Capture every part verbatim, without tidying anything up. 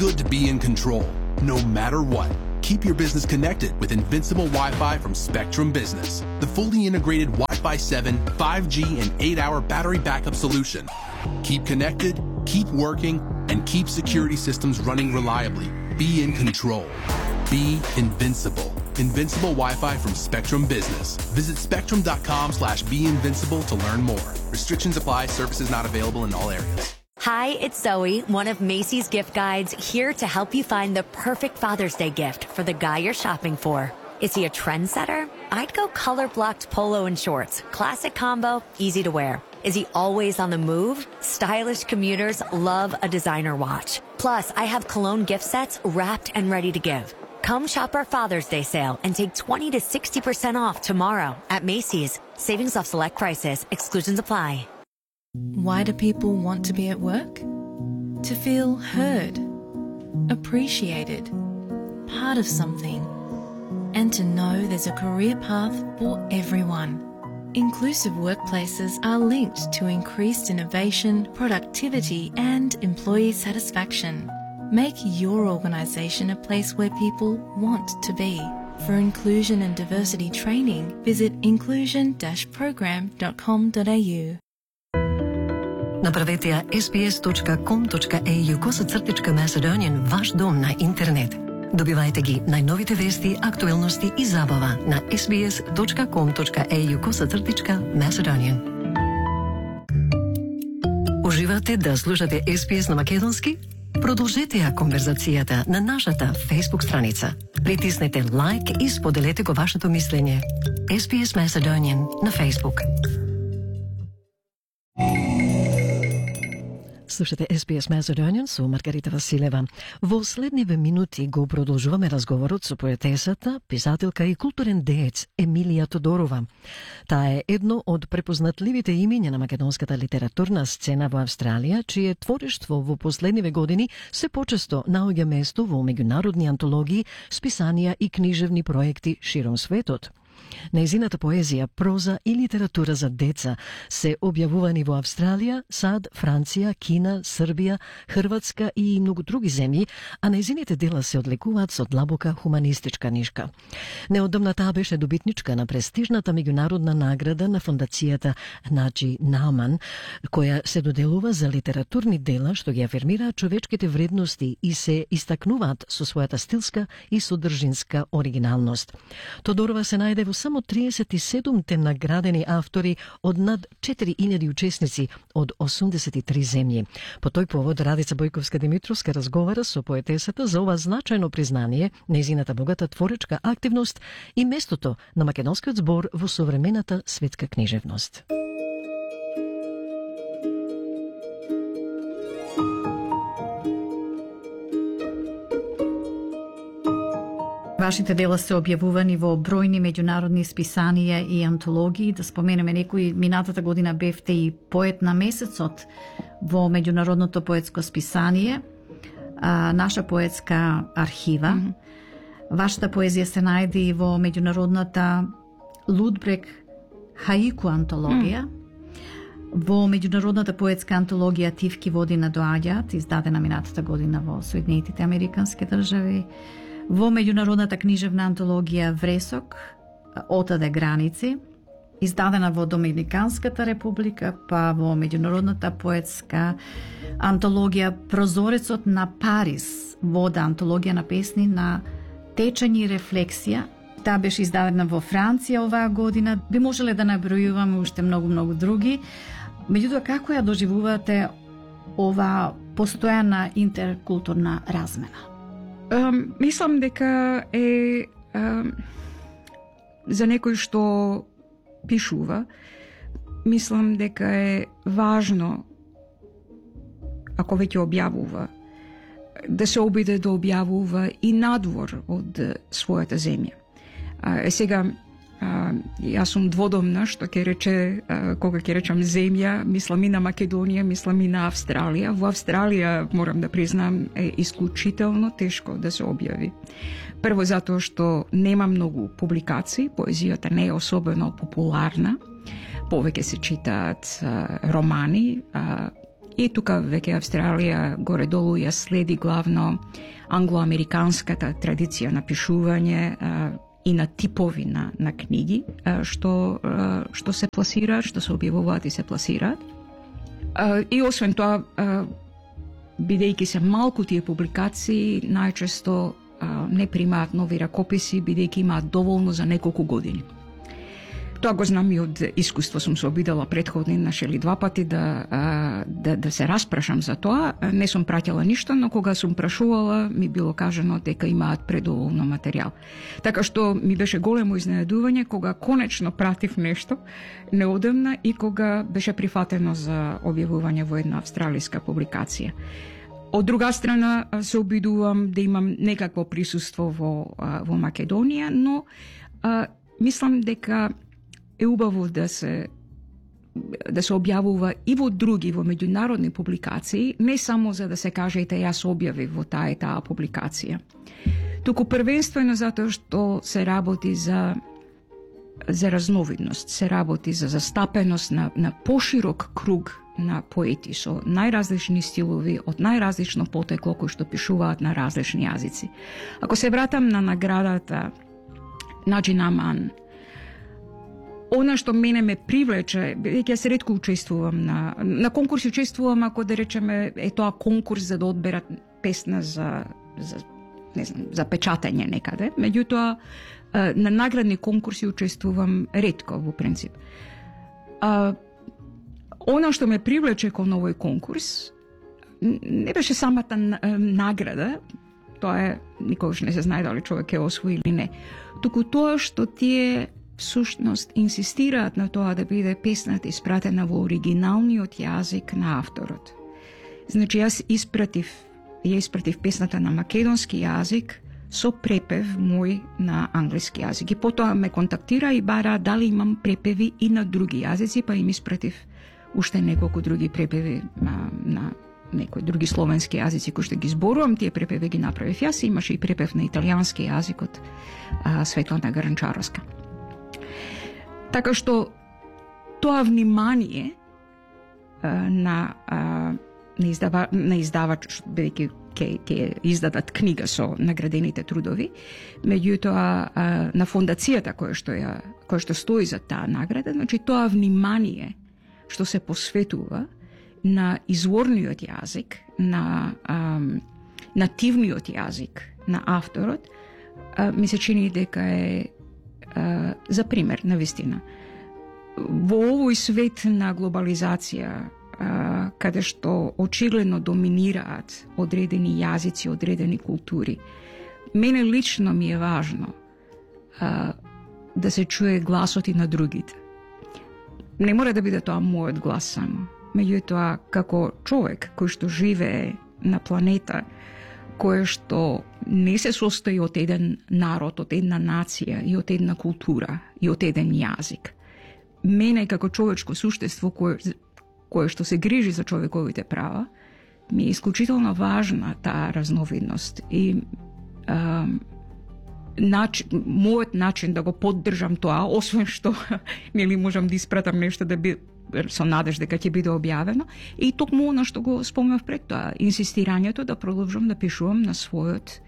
Good to be in control, no matter what. Keep your business connected with Invincible Wi-Fi from Spectrum Business, the fully integrated Wi-Fi seven, five G, and eight hour battery backup solution. Keep connected, keep working, and keep security systems running reliably. Be in control. Be invincible. Invincible Wi-Fi from Spectrum Business. Visit spectrum.com slash be invincible to learn more. Restrictions apply. Services not available in all areas. Hi, it's Zoe, one of Macy's gift guides, here to help you find the perfect Father's Day gift for the guy you're shopping for. Is he a trendsetter? I'd go color-blocked polo and shorts. Classic combo, easy to wear. Is he always on the move? Stylish commuters love a designer watch. Plus, I have cologne gift sets wrapped and ready to give. Come shop our Father's Day sale and take twenty to sixty percent off tomorrow at Macy's. Savings off select prices. Exclusions apply. Why do people want to be at work? To feel heard, appreciated, part of something, and to know there's a career path for everyone. Inclusive workplaces are linked to increased innovation, productivity, and employee satisfaction. Make your organisation a place where people want to be. For inclusion and diversity training, visit inclusion dash program dot com dot a u. Направете ја ес би ес точка ком точка е ю косацртичка Macedonian ваш дом на интернет. Добивајте ги најновите вести, актуелности и забава на ес би ес точка ком точка е ю косацртичка Macedonian. Уживате да слушате ес би ес на македонски? Продолжете ја конверзацијата на нашата Facebook страница. Притиснете лайк и споделете го вашето мислење. ес би ес Macedonian на Facebook. Слушате ес би ес Macedonian со Маргарита Василева. Во следниве минути го продолжуваме разговорот со поетесата, писателка и културен деец Емилија Тодорова. Таа е едно од препознатливите имиња на македонската литературна сцена во Австралија, чие творештво во последниве години се почесто наоѓа место во меѓународни антологии, списанија и книжевни проекти широм светот. Нејзината поезија, проза и литература за деца се објавувани во Австралија, САД, Франција, Кина, Србија, Хрватска и многу други земји, а нејзините дела се одликуваат со длабока хуманистичка нишка. Неодамна таа беше добитничка на престижната меѓународна награда на фондацијата Наџи Нааман, која се доделува за литературни дела што ги афирмираат човечките вредности и се истакнуваат со својата стилска и содржинска оригиналност. Тодорова се најде во само триесет и седумте наградени автори од над четири илјади учесници од осумдесет и три земји. По тој повод Радица Бојковска-Димитровска разговара со поетесата за ова значајно признание, нејзината богата творечка активност и местото на македонскиот збор во современата светска книжевност. Вашите дела се објавувани во бројни меѓународни списанија и антологии. Да споменеме некои, минатата година бевте и поет на месецот во меѓународното поетско списание, а, наша поетска архива. Mm-hmm. Вашата поезија се најде и во меѓународната Лудбрек Хаику антологија. Mm. Во меѓународната поетска антологија Тивки води надоаѓаат, издадена минатата година во Соединетите Американски држави. Во меѓународната книжевна антологија Вресок, Отаде граници, издадена во Доминиканската република, па во меѓународната поетска антологија Прозорецот на Париз, вода антологија на песни на течење и рефлексија. Таа беше издадена во Франција оваа година. Би можеле да набројуваме уште многу-многу други. Меѓутоа, како ја доживувате оваа постојана интеркултурна размена? Um, мислам дека е um, за некој што пишува, мислам дека е важно, ако веќе објавува, да се обиде да објавува и надвор од својата земја. Uh, е сега, uh, јас сум дводомна, што ќе рече, uh, кога ќе речам земја, мислам и на Македонија, мислам и на Австралија. Во Австралија, морам да признам, е исклучително тешко да се објави. Прво затоа што нема многу публикации, поезијата не е особено популарна, повеќе се читаат uh, романи, uh, И тука веќе Австралија горе-долу ја следи главно англоамериканската традиција на пишување а, и на типови на, на книги, а, што, а, што се пласираат, што се објавуваат и се пласираат. А, и освен тоа, а, бидејќи се малку тие публикации, најчесто а, не примаат нови ракописи, бидејќи имаат доволно за неколку години. Тоа го знам и од искуство, сум се обидела претходни наш или два пати да, да, да се распрашам за тоа. Не сум праќала ништо, но кога сум прашувала, ми било кажано дека имаат предоволно материјал. Така што ми беше големо изненадување кога конечно пратив нешто неодамна и кога беше прифатено за објавување во една австралиска публикација. Од друга страна се обидувам да имам некакво присуство во, во Македонија, но а, мислам дека е убаво да се да се објавува и во други, во меѓународни публикации, не само за да се каже ете јас објавив во таа и таа публикација. Туку првенствено затоа што се работи за за разновидност, се работи за застапеност на, на поширок круг на поети со најразлични стилови, од најразлично потекло кои што пишуваат на различни јазици. Ако се вратам на наградата Наџин Аман, она што мене ме привлече, бидејќи јас ретко учествувам на на конкурси, учествувам ако да речеме е тоа конкурс за да одберат песна за за не знам, за печатање некаде, меѓутоа на наградни конкурси учествувам ретко во принцип. А, она што ме привлече кон овој конкурс не беше самата награда, тоа е никогаш не се знае дали човек ќе освои или не, туку тоа што тие всушност инсистираат на тоа да биде песната испратена во оригиналниот јазик на авторот. Значи јас испратив, ја испратив песната на македонски јазик со препев мој на англиски јазик. И потоа ме контактира и бара дали имам препеви и на други јазици, па им испратив уште неколку други препеви на, на некои други словенски јазици кои што ги зборувам. Тие препеви ги направив јас, имаше и препев на италијански јазик од а, Светлана Гранчаровска. Така што тоа внимание а, на, а, на, издава, на издавач, бидејќи ќе ќе издадат книга со наградените трудови, меѓутоа а, на фондацијата која што ја која што стои за таа награда, значи тоа внимание што се посветува на изворниот јазик, на а, нативниот јазик на авторот, а, ми се чини дека е а, за пример на вистина. Во овој свет на глобализација, а, каде што очигледно доминираат одредени јазици, одредени култури, мене лично ми е важно а, да се чуе гласот и на другите. Не мора да биде тоа мојот глас само, меѓутоа како човек кој што живее на планета, кој што не се состои од еден народ, од една нација и од една култура и од еден јазик. Мене како човечко суштество кое, кое што се грижи за човековите права, ми е исклучително важна таа разновидност и а, начин, мојот начин да го поддржам тоа, освен што нели можам да испратам нешто да би со надеж дека ќе биде објавено, и токму она што го спомнав пред тоа, инсистирањето да продолжам да пишувам на својот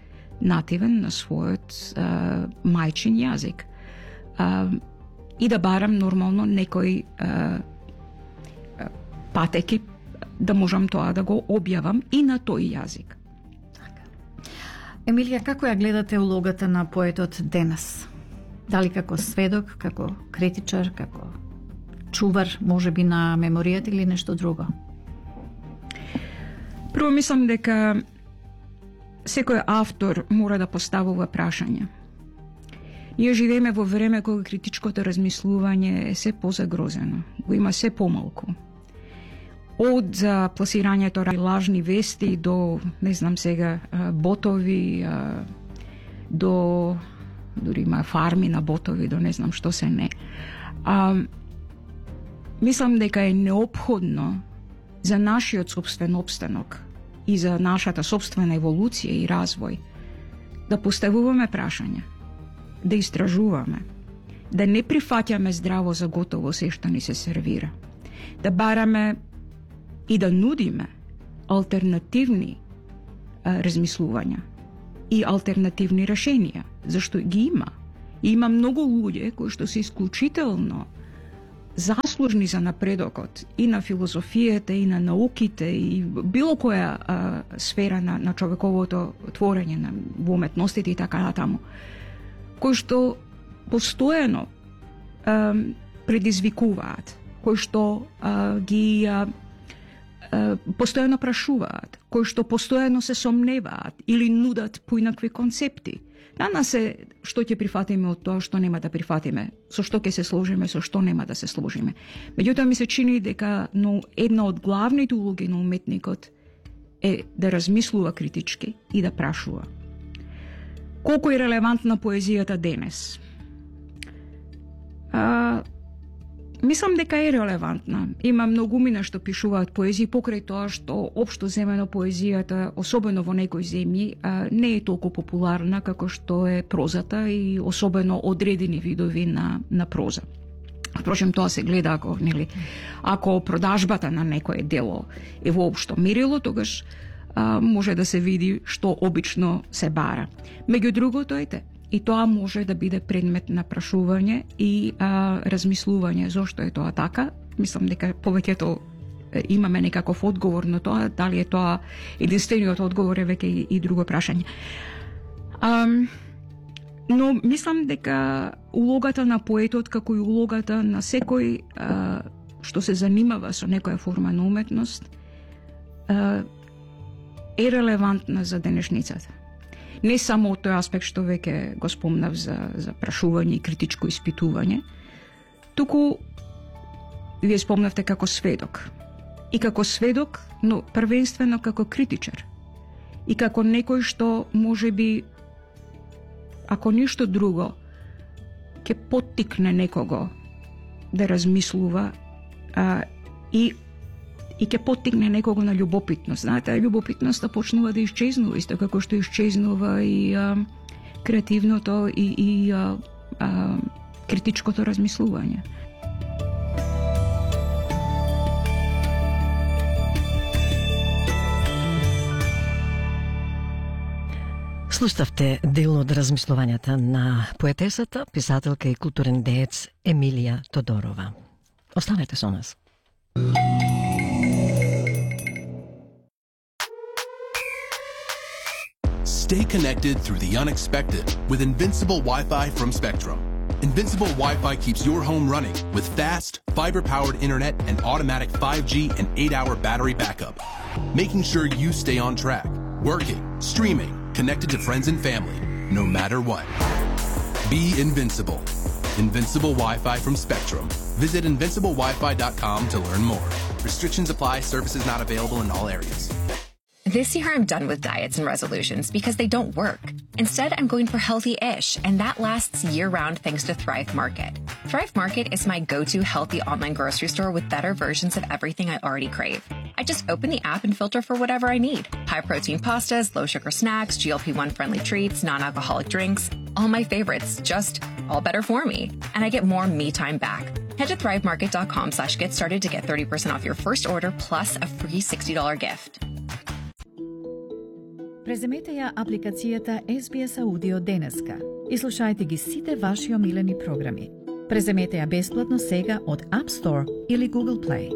нативен, на својот а, мајчин јазик. А, и да барам нормално некои а, патеки да можам тоа да го објавам и на тој јазик. Емилија, како ја гледате улогата на поетот денес? Дали како сведок, како критичар, како чувар, можеби на меморијата или нешто друго? Прво мислам дека секој автор мора да поставува прашања. Ние живееме во време кога критичкото размислување е се позагрозено, го има се помалку. Од пласирањето лажни вести до, не знам сега, ботови, до дури има фарми на ботови, до не знам што се не. А, мислам дека е неопходно за нашиот собствен обстанок и за нашата собствена еволуција и развој да поставуваме прашања, да истражуваме, да не прифаќаме здраво за готово се што ни се сервира, да бараме и да нудиме алтернативни а, размислувања и алтернативни решенија, зашто ги има. И има многу луѓе кои што се исклучително заслужни за напредокот и на филозофијата, и на науките, и било која а, сфера на, на човековото творење, на во уметностите и така натаму, кои што постојано а, предизвикуваат, кои што а, ги а, а, постојано прашуваат, кои што постојано се сомневаат или нудат поинакви концепти. На нас е што ќе прифатиме од тоа, што нема да прифатиме, со што ќе се сложиме, со што нема да се сложиме. Меѓутоа ми се чини дека но една од главните улоги на уметникот е да размислува критички и да прашува. Колку е релевантна поезијата денес? А, мислам дека е релевантна. Има многумина што пишуваат поезии покрај тоа што општо земено поезијата, особено во некои земји, не е толку популарна како што е прозата и особено одредени видови на, на проза. Впрочем, тоа се гледа ако, нели, ако продажбата на некое дело е воопшто мерило, тогаш а, може да се види што обично се бара. Меѓу другото, ете, и тоа може да биде предмет на прашување и а, размислување зошто е тоа така. Мислам дека повеќето имаме некаков одговор на тоа, дали е тоа единствениот одговор е веќе и, и друго прашање. А, но мислам дека улогата на поетот, како и улогата на секој а, што се занимава со некоја форма на уметност, а, е релевантна за денешницата. Не само од тој аспект што веќе го спомнав за, за прашување и критичко испитување, туку вие спомнавте како сведок. И како сведок, но првенствено како критичар. И како некој што може би, ако ништо друго, ќе поттикне некого да размислува а, и и ќе поттикне некого на љубопитност. Знаете, љубопитноста почнува да исчезнува, исто како што исчезнува и а, креативното и, и а, а, критичкото размислување. Слушавте дел од размислувањата на поетесата, писателка и културен деец Емилија Тодорова. Останете со нас. Stay connected through the unexpected with Invincible Wi-Fi from Spectrum. Invincible Wi-Fi keeps your home running with fast, fiber-powered internet and automatic five G and eight hour battery backup, making sure you stay on track, working, streaming, connected to friends and family, no matter what. Be invincible. Invincible Wi-Fi from Spectrum. Visit invincible wi fi dot com to learn more. Restrictions apply. Services not available in all areas. This year I'm done with diets and resolutions because they don't work. Instead, I'm going for healthy-ish, and that lasts year-round thanks to Thrive Market. Thrive Market is my go-to healthy online grocery store with better versions of everything I already crave. I just open the app and filter for whatever I need. High-protein pastas, low-sugar snacks, G L P one friendly treats, non-alcoholic drinks, all my favorites, just all better for me. And I get more me time back. Head to thrive market dot com slash get started to get thirty percent off your first order plus a free sixty dollars gift. Преземете ја апликацијата Ес Би Ес Аудио денеска и слушајте ги сите ваши омилени програми. Преземете ја бесплатно сега од App Store или Google Play.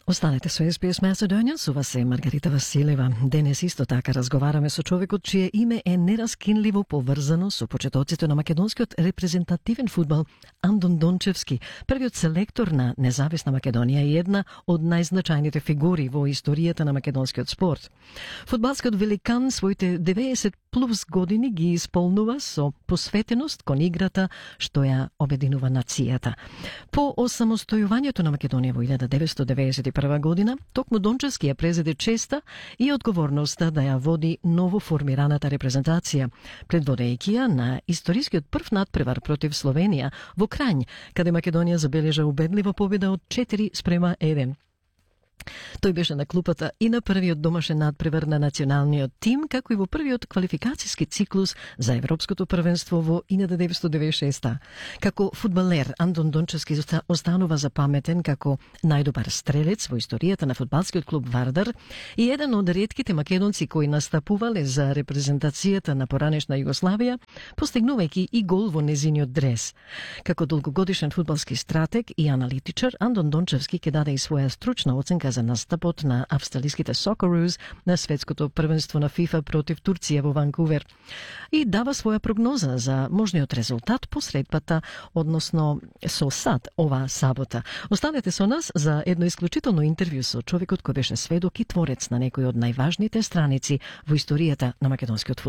Останете со Ес Би Ес Macedonian, со вас е Маргарита Василева. Денес исто така разговараме со човекот чие име е нераскинливо поврзано со почетоците на македонскиот репрезентативен фудбал Андон Дончевски, првиот селектор на Независна Македонија и една од најзначајните фигури во историјата на македонскиот спорт. Фудбалскиот великан своите деветдесет плюс години ги исполнува со посветеност кон играта што ја обединува нацијата. По осамостојувањето на Македонија во илјада деветстотини деветдесет и прва година, токму Дончевски ја презеде честа и одговорноста да ја води ново формираната репрезентација, предводејќи ја на историскиот прв надпревар против Словенија во Крањ, каде Македонија забележа убедлива победа од четири спрема еден. Тој беше на клупата и на првиот домашен надпревар на националниот тим, како и во првиот квалификацијски циклус за Европското првенство во илјада деветстотини деведесет и шеста. Како фудбалер, Антон Дончевски останува запаметен како најдобар стрелец во историјата на фудбалскиот клуб Вардар и еден од ретките македонци кои настапувале за репрезентацијата на поранешна Југославија, постигнувајќи и гол во незиниот дрес. Како долгогодишен фудбалски стратег и аналитичар, Антон Дончевски ќе даде и своја стручна оценка за настапот на австралиските Socceroos на светското првенство на ФИФА против Турција во Ванкувер и дава своја прогноза за можниот резултат по средбата, односно со САД оваа сабота. Останете со нас за едно исклучително интервју со човекот кој беше сведок и творец на некои од најважните страници во историјата на македонскиот фудбал.